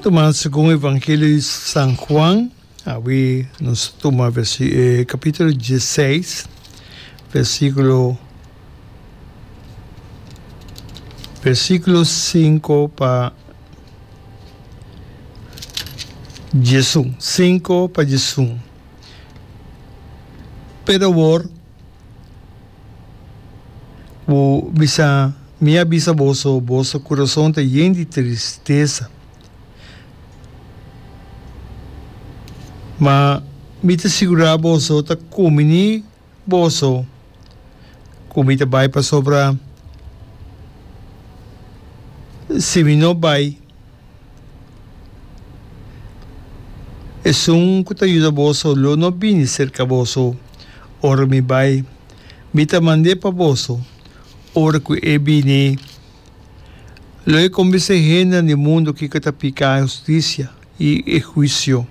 Tuma segun Evangelio di San Juan, awe nos ta tuma capítulo dieseis, versículo versículo cinco pa diesun, cinco pa diesun. Pero awor Bo bisa, Mi a bisa boso, boso kurason ta yen di tristesa. Ma mi ta sigurá boso, ta kuminí boso ku mi ta bai, pasobra si mi no bai, Esun ku ta yuda boso lo no bini serka boso ora mi bai. Mi ta mand'é pa boso. Ora ku e bini, lo e kombensé hendenan di mundu kiko ta piká, hustisia i e huisio.